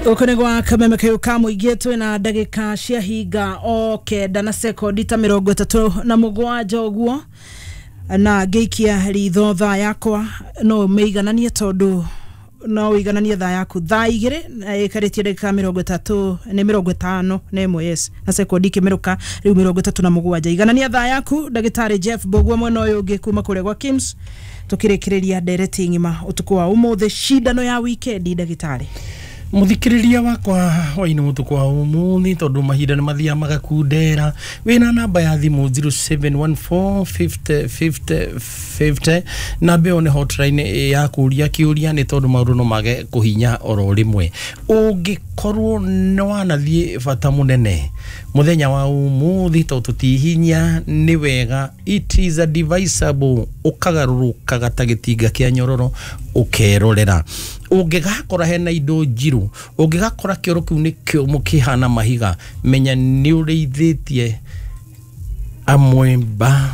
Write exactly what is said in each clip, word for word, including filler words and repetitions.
Gũkũ nĩ gwa Kameme Kayũ ka Mũingĩ, twĩna ndagĩka cia hinga o kenda na sekondi ta mĩrongo ĩtatũ na mũgwanja ũguo, na ngĩikia ritho thaa yakwa no ũmĩigananie, tondũ no ũigananie thaa yaku thaa igĩrĩ na ĩkarĩtie ndagĩka mĩrongo ĩtatũ nĩ mĩrongo ĩtano na ĩmwe, yes, na sekondi ikĩmĩrũka rĩu mĩrongo ĩtatũ na mũgwanja. Iganania thaa yaku. Ndagĩtarĩ Jeff Mbũgua mwena ũyũ ũngĩ kuma kũrĩa gwa Kims, tũkĩrĩkĩrĩria ndereti ng'ima ũtukũ wa ũmũthĩ, cindano ya wikendi, ndagĩtarĩ. Muthikiriria wakwa waini mutuku wa umuthi, tondu mahinda nĩ mathiaga magakundera, wĩna namba ya thimũ zero seven one four fifty fifty fifty. Namba ĩyo nĩ hotline ya kũria kĩũria, nĩ tondũ maũndũ no mage kũhinya oro rĩmwe. Ũngĩkorwo nĩ wanathiĩ bata mũnene mũthenya wa ũmũthĩ, tondũ tũtihinya nĩ wega, it is advisable ũkagarũrũkaga ta gĩtinga kĩa nyororo, ũkerorera ũngĩgakora hena indo njirũ. Ũngĩgakora kĩoro kĩu nĩ kĩũmũ kĩhana mahiga, menya nĩ ũrĩithĩtie amwemba,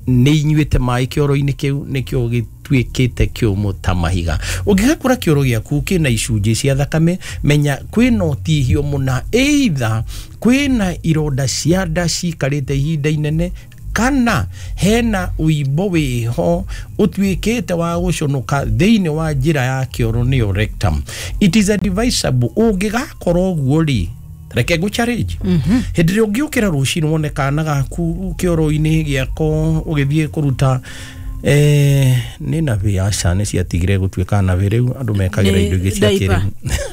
nĩ inyuĩte maĩ kĩoro-inĩ kĩu, nĩkĩo gĩtuĩkĩte kĩũmũ ta mahiga. Ũngĩgakora kĩoro gĩaku kĩna icunjĩ cia thakame, menya kwĩna ũtihio mũna, either kwĩna ironda cia nda cikarĩte ihinda inene, kana hena ũimbo wĩho ũtuĩkĩte wa gũconoka thĩinĩ wa njĩra ya kĩoro, nĩyo rectum. It is advisable ũngĩgakora ũguo rĩ, reke ngũ challenge, hĩndĩ ĩrĩa ũngĩũkĩra rũcinĩ wone kana gaku kĩoro-inĩ gĩako ũgĩthiĩ kũruta, eh, nĩ nabĩ, aca, nĩ ciatigire gũtuĩka nabĩ, rĩu andũ mekagĩra Nĩ indo ingĩ cia diaper.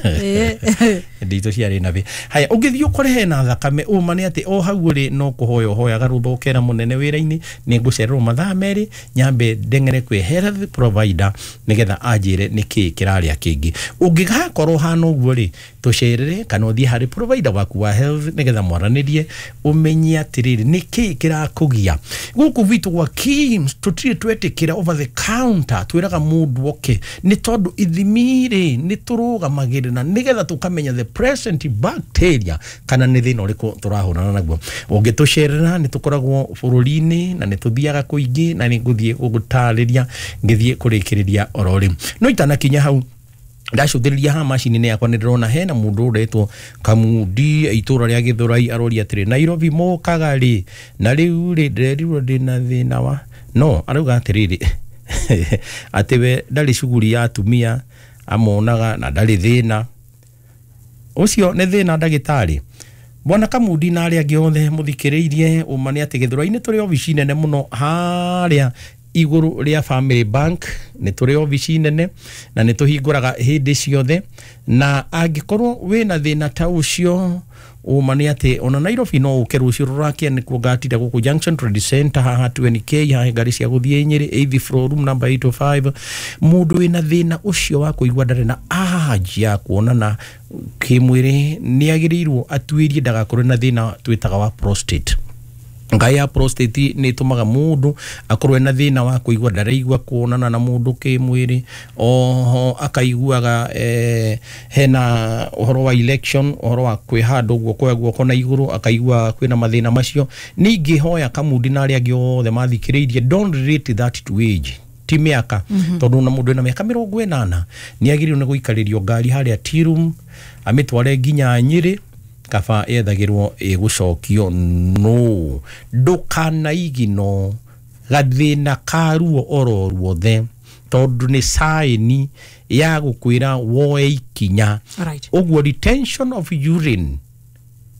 kĩrĩu. Nditũ ciarĩ nabĩ. Haya, ũngĩthiĩ ũkore hena thakame, ũma nĩ atĩ o hau ũrĩ no kũhoya ũhoyaga rũtha, ũkera mũnene wĩra-inĩ, nĩ ngũcererwo mathaa merĩ, nyambe ndeng'ere kwĩ health provider nĩgetha anjĩre nĩkĩ kĩrarĩa kĩngĩ. Ũngĩgakorwo hana ũguo rĩ, tũcerere kana ũthiĩ harĩ provider waku wa health nĩgetha mwaranĩrie, ũmenye atĩrĩrĩ, nĩkĩ kĩrakũgia. Gũkũ gwitũ gwa Kims tũtirĩ twetĩkĩra over the counter, twĩraga mũndũ oke, nĩ tondũ ithimi rĩ nĩ tũrũgamagĩrĩra nĩgetha tũkamenya the present bacteria kana nĩ thĩna ũrĩkũ tũrahũrana naguo. Ũngĩtũcerera, nĩ tũkoragwo bũrũri-inĩ na nĩ tũthiaga kũingĩ, na nĩ ngũthiĩ gũgũtarĩria ngĩthiĩ kũrĩkĩrĩria oro rĩu. No itanakinya hau, ndacũthĩrĩria haha macini-inĩ yakwa, nĩ ndĩrona hena mũndũ ũretwo Kamundi, itũra rĩa Gĩthũrai, aroria atĩrĩ, "Nairobi mũkaga rĩ?" Na rĩu rĩ, ndĩrerirwo ndĩna thĩna wa no arauga atĩrĩrĩ, atĩ we ndarĩ cuguri ya atumia amonaga na ndarĩ thĩna ũcio. Nĩ thĩna, ndagĩtarĩ. Bwana Kamundi na arĩa angĩ othe mũthikĩrĩirie, ũma nĩ atĩ Gĩthũrai-inĩ tũrĩ obici nene mũno harĩa igũrũ rĩa Family Bank. Nĩ tũrĩ obici nene na nĩ tũhingũraga hĩndĩ ciothe, na angĩkorwo wĩna thĩna ta ũcio, ũma nĩ atĩ ona Nairobi no ũke rũciũ rũrakia, nĩkuo ngatinda gũkũ Junction Trade Center haha twenty k, haha ngari cia gũthiĩ Nyĩrĩ, eighth floor, room number eight oh five. Mũndũ wĩna thĩna ũcio wa kũigua ndarĩ na urge ya kuonana kĩmwĩrĩ nĩ agĩrĩirwo atuĩrie ndagakorwo na thĩna twĩtaga wa prostate. Ngai ya prostate nĩ ĩtũmaga mũndũ akorwo ena thĩna wa kũigua ndaraigua kuonana na mũndũ kĩmwĩrĩ. Oho akaiguaga eh, hena ũhoro wa erection, ũhoro wa kwĩhanda ũguo, kuoya guoko na igũrũ, akaigua kwĩna mathĩna macio. Ningĩ hoya Kamundi na arĩa angĩ othe mathikĩrĩirie, don't relate that to age, ti mĩaka, tondũ ona mũndũ ena mĩaka mĩrongo ĩnana nĩ agĩrĩirwo nĩ gũikarĩrio ngari harĩa tea room amĩtware nginya Nyĩrĩ, kaba yethagĩrwo ĩgũcokio. No ndũkanaigino gathĩna ka ruo oro ruothe, tondũ nĩ saĩni ya gũkwĩra woe ikinya. Right. Ũguo retention of urine,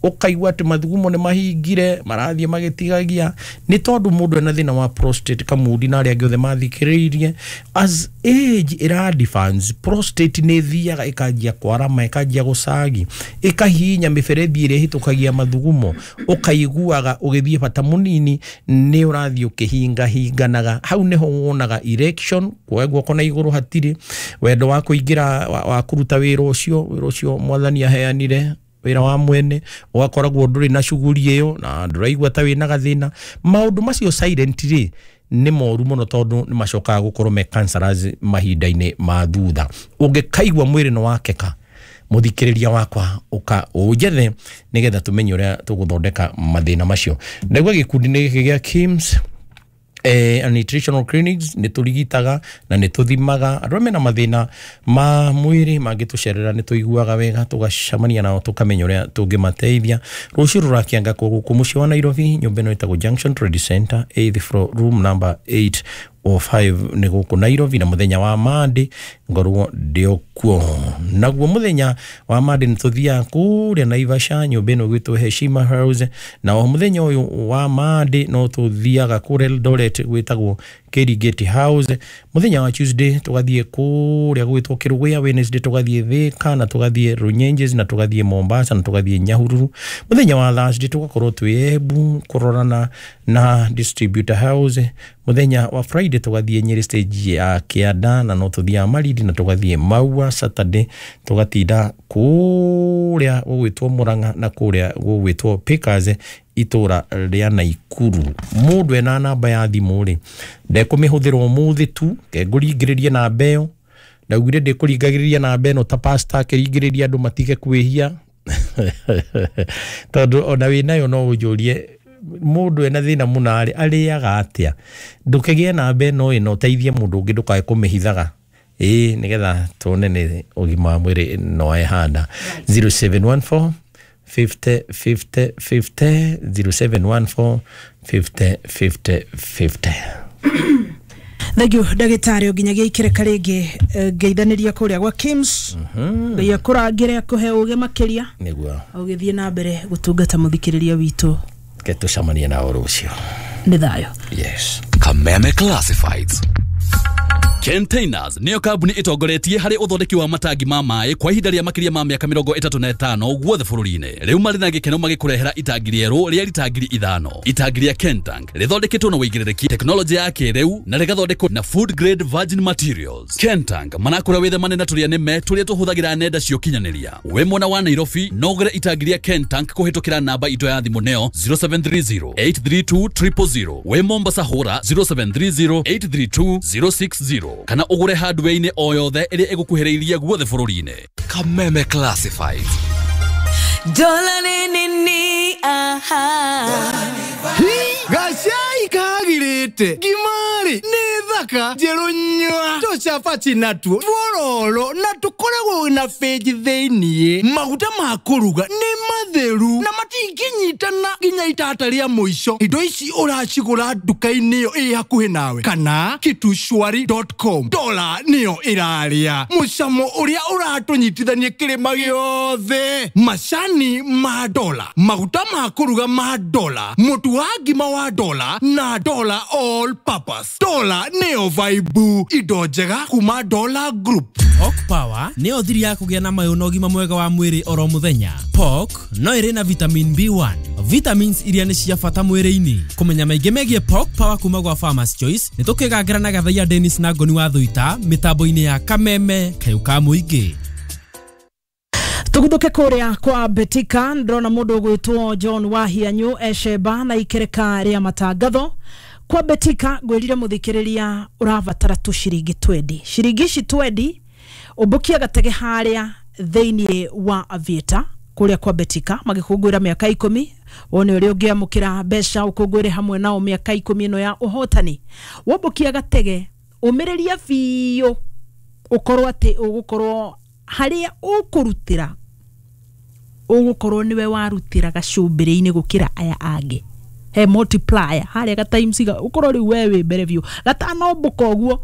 ũkaigua atĩ mathugumo nĩ mahingire, marathiĩ magĩtigagia, nĩ tondũ mũndũ ena thĩna wa prostate. Kamundi na arĩa angĩ othe mathikĩrĩirie, as age ĩra advance, prostate nĩ ĩthiaga ĩkanjia kwarama, ĩkanjia gũcagi, ĩkahihinya mĩberethi ĩrĩa ĩhĩtũkagia mathugumo, ũkaiguaga ũgĩthiĩ bata mũnini nĩ ũrathiĩ ũkĩhingahinganaga. Hau nĩho wonaga erection, kuoya guoko na igũrũ hatirĩ, wendo wa kũingĩra wa, wa kũruta wĩra ũcio, wĩra ũcio mwathani aheanire, wĩra wa mwene, ũgakoragwo ndũrĩ na cuguri ĩyo na ndũraigua ta wĩna gathĩna. Maũndũ macio silent rĩ, nĩ moru mũno, tondũ nĩ macokaga gũkorwo me cancerous mahinda-inĩ ma thutha. Ũngĩkaigua mwĩrĩ nĩ wakeka, mũthikĩrĩria wakwa, ũka ũnjethe nĩgetha tũmenye ũrĩa tũgũthondeka mathĩna macio. Ndaigua gĩkundi-inĩ gĩkĩ gĩa Kims Eh, nutritional clinics nä tå rigitaga na nä tå thimaga andå arĩa mena mathĩna ma mwĩrĩ mangĩtũcerera nĩ tũiguaga wega tũgacemania nao tũkamenya ũrĩa tũngĩmateithia. Rũciũ rũrakĩanga kwo gũkũ mũciĩ wa Nairobi, nyũmba ĩno ĩtagwo Junction Trade Center, eighth floor, room number eight o five nĩ gũkũ Nairobi, na mũthenya wa Monday ngorwo ndĩ kuo. Naguo mũthenya wa Monday nĩ tũthiaga kũrĩa Naivasha, nyũmba ĩno ĩgwĩtwo Heshima House, na o mũthenya ũyũ wa Monday no tũthiaga kũrĩa Eldoret gwĩtagwo Kirigiti House. Mũthenya wa Tuesday tũgathiĩ kũrĩa gwĩtwo Kĩrũgũya, Wednesday tũgathiĩ Thika na tũgathiĩ Runyenjes na tũgathiĩ Mombasa na tũgathiĩ Nyahururu. Mũthenya wa Thursday tũgakorwo twĩ Embu kũrorana na Distributor House. Mũthenya wa Friday tũgathiĩ Nyeri stage ya Kĩanda na no tũthiaga Malindi na tũgathiĩ Maua. Saturday tũgatinda kũrĩa gũgwĩtwo Murang'a na kũrĩa gũgwĩtwo Pickers itũra rĩa Naikuru. Mũndũ ena namba ya thimũ rĩ, ndekũmĩhũthĩra ũmũthĩ tu, kengũringĩrĩrie namba ĩyo. Ndaugire ndĩkũringagĩrĩria namba ĩno ta pastor akĩringĩrĩria andũ matige kwĩhia tondũ ona wĩnayo no ũnjũrie mũndũ ena thĩna mũna rĩ arĩaga atĩa. Ndũkĩgĩe namba ĩno ĩno ũteithie mũndũ ũngĩ, ndũkae kũmĩhithaga, ĩĩ, nĩgetha tuone nĩ ũgima wa mwĩrĩ no ehanda. zero seven one four fifty fifty fifty, zero seven one four fifty fifty fifty. Thank you ndagĩtarĩ, nginyagia ikĩreka rĩngĩ ngeithanĩria kũrĩa gwa Kims. Ngai akũrangĩre, akũhe ũgĩ makĩria nĩguo ũgĩthiĩ na mbere gũtungata mũthikĩrĩria witũ. Ke tũcemanie nao rũciũ. Nĩ thayũ. Yes. Kameme Classifieds. Containers niyo kambuni ĩtongoretie harĩ ũthondeki wa matangi ma maĩ kwa ihinda rĩa makĩria ma mĩaka mĩrongo ĩtatũ na ĩtano guothe bũrũri-inĩ. Rĩu marĩ na gĩkeno magĩkũrehera itangi rĩerũ rĩa rita ngiri ithano. Itangi rĩa Kentank rĩthondeketwo na ũigĩrĩrĩki, tekinoronjĩ ya kĩrĩu na rĩgathondekwo na food grade virgin materials. Kentank marakũra wĩthemane na tũrĩa nĩme tũrĩa tũhũthagĩra nenda cia ũkinyanĩria. Wĩ mwena wa Nairobi no ũgũre itangi rĩa Kentank kũhĩtũkĩra namba itũ ya thimũ neo zero seven three zero eight three two triple zero. Wĩ Mombasa hũra zero seven three zero eight three two zero six zero kana ũgũre hardware-inĩ o yothe ĩrĩa ĩgũkuhĩrĩirie guothe bũrũri-inĩ. Kameme Classifieds. Dola ni ni aha. Gacai kagirite ngimari nĩ thaka njerũ nyua tũcabaci natuo tuororo na tũkoragwo na benji thĩiniĩ. Maguta ma kũruga nĩ matheru na matingĩnyitana nginya itata rĩa mũico. Indo ici ũracigũra nduka-inĩ ĩyo ĩ hakuhĩ nawe kana kitushwari dot com. Dola nĩyo ĩrarĩa mũcamo ũrĩa ũratũnyitithania kĩrĩma gĩothe. Macani ma dola, maguta ma kũruga ma dola, mũtu wa ngima wa dola na dola all purpose. Dola nĩyo vibe, indo njega kuma Dola Group. Pork Power nĩyo thiri ya kũgĩa na mayũ na ũgima mwega wa mwĩrĩ oro mũthenya. Pork no ĩrĩ na vitamin B one, vitamins iria nĩ cia bata mwĩrĩ-inĩ. Kũmenya maingĩ megiĩ Pork Power kuma gwa Farmers Choice nĩ tũkĩgangĩra na Gathaiya Dennis na Ngoni wa Thuita mĩtambo-inĩ ya Kameme Kayũ ka Mũingĩ. Tuguthuke kuria kwa Betika, ndĩrona mũndũ ũgwĩtwo John Wahianyu ecemba na ikereka rĩa matangatho. Kwa Betika ngwĩrire mũthikĩrĩria ũrabatara tu ciringi twendi, ciringi ici twendi ũmbũkia gatege harĩa thĩiniĩ wa Aviator kũrĩa kwa Betika magĩkũngũĩra mĩaka ikũmi. Wone ũrĩa ũngĩamũkĩra mbeca ũkũngũĩre hamwe nao mĩaka ikũmi ĩno ya ũhotani. Wombũkia gatege ũmĩrĩria biũ ũkorwo atĩ ũgũkorwo harĩa ũkũrutĩra ũgũkorwo nĩwe warutĩra gacumbĩrĩ-inĩ gũkĩra aya angĩ. He multiplier harĩa ga times ga ũkorwo rĩu we wĩ mbere biũ gatanombũka ũguo.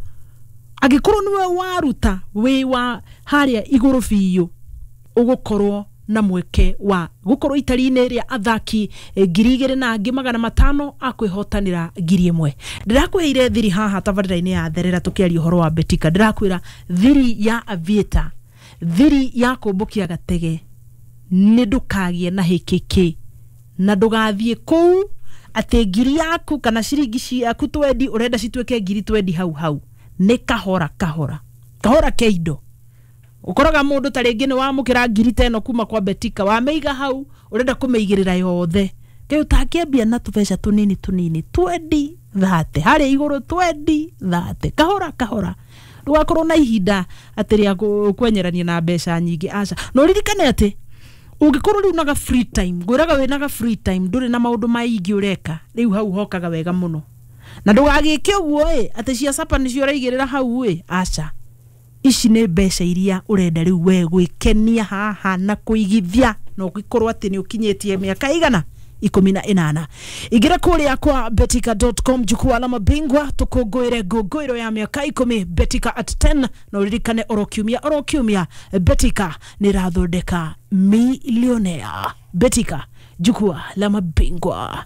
Angĩkorwo nĩwe waruta wĩ wa harĩa igũrũ biũ ũgũkorwo na mweke wa gũkorwo itari-inĩ rĩa athaki ngiri igĩrĩ na angĩ magana matano akwĩhotanĩra ngiri ĩmwe. Ndĩrakũheire thiri haha tabarĩra-inĩ ya Therera tũkĩaria ũhoro wa Betika. Ndĩrakwĩra thiri ya Aviator, thiri ya kũmbũkia gatege nĩ ndũkagĩe na hĩkĩkĩ na ndũgathiĩ kũu atĩ ngiri yaku kana ciringi ciaku twendi ũrenda cituĩke ngiri twendi hau hau. Nĩ kahora kahora kahora ke indo. Ũkoraga mũndũ ta rĩngĩ nĩ wamũkĩra ngiri ta ĩno kuma kwa Betika, wamĩiga hau ũrenda kũmĩigĩrĩra yothe. Kĩu ũtangĩambia na tũbeca tũnini tũnini twendi thate harĩa igũrũ twendi thate kahora kahora, ndũgakorwo na ihinda atĩ rĩa kwenyerania na mbeca nyingĩ, aca. Na ũririkane atĩ ũngĩkorwo rĩu naga free time, ngwĩraga wĩnaga free time ndũrĩ na maũndũ maingĩ ũreka, rĩu hau hokaga wega mũno. Na ndũgagĩke ũguo ĩ atĩ cia sapa nĩcio ũraigĩrĩra hau ĩ, aca, ici nĩ mbeca iria ũrenda rĩu we gwĩkenia haha na kũigithia na ũgĩkorwo atĩ nĩ ũkinyĩtie mĩaka igana ikũmi na ĩnana. Ingĩra kũrĩa kwa betika dot com, jukwaa la mabingwa, tũkũngũĩre ngũngũĩro ya mĩaka ikũmi, Betika at ten. Na ũririkane oro kiumia oro kiumia Betika nĩ ĩrathondeka milionea. Betika, jukwaa la mabingwa.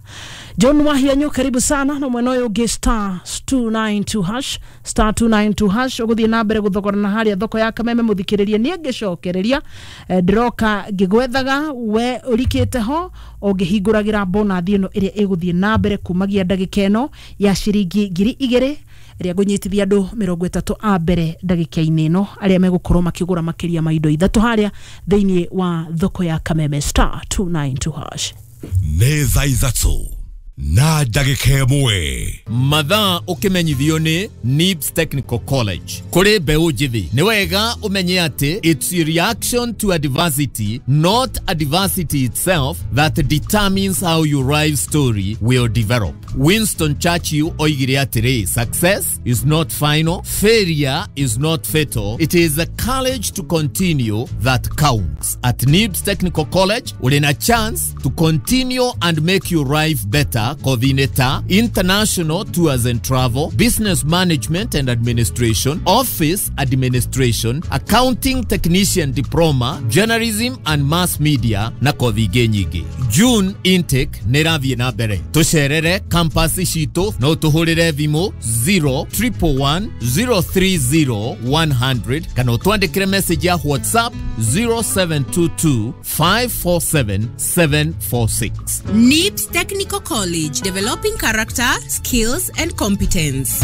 John Wahianyu, karibu sana. Na mwena ũyũ ũngĩ, star two nine two hash, star two nine two hash, ũgũthiĩ na mbere gũthogorana harĩa thoko ya Kameme. Mũthikĩrĩrie, niĩ ngĩcokereria eh, ndĩroka ngĩgwethaga we ũrikĩte ho ũngĩhingũragĩra bonathi ĩno ĩrĩa ĩgũthiĩ na mbere kumagia ndagĩka ĩno ya ciringi ngiri igĩrĩ ĩrĩa ngũnyitithia andũ mĩrongo ĩtatũ a mbere ndagĩka-inĩ ĩno arĩa megũkorwo makĩgũra makĩria ma indo ithatũ harĩa thĩinĩ wa thoko ya Kameme, star two nine two hash. Nĩ thaa ithatũ na ndagĩka ĩmwe. Mathaa ũkĩmenyithio nĩ Nibs Technical College. Kũrĩ mbeũ njĩthĩ, nĩ wega ũmenye atĩ it's a reaction to adversity, not adversity itself, that determines how your life story will develop. Winston Churchill oigire atĩrĩ, "Success is not final, failure is not fatal, it is the courage to continue that counts." At Nibs Technical College, ũrĩ na chance to continue and make your life better, kothi-inĩ ta international tours and travel, business management and administration, office administration, accounting technician diploma, journalism and mass media na kothi ingĩ nyingĩ. June intake nĩ ĩrathiĩ na mbere. Tũcerere campus citũ, no tũhũrĩre thimũ zero one one one zero three zero one hundred kana ũtwandĩkĩre message ya WhatsApp zero seven two two five four seven seven four six. NIBS Technical College, developing character, skills, and competence.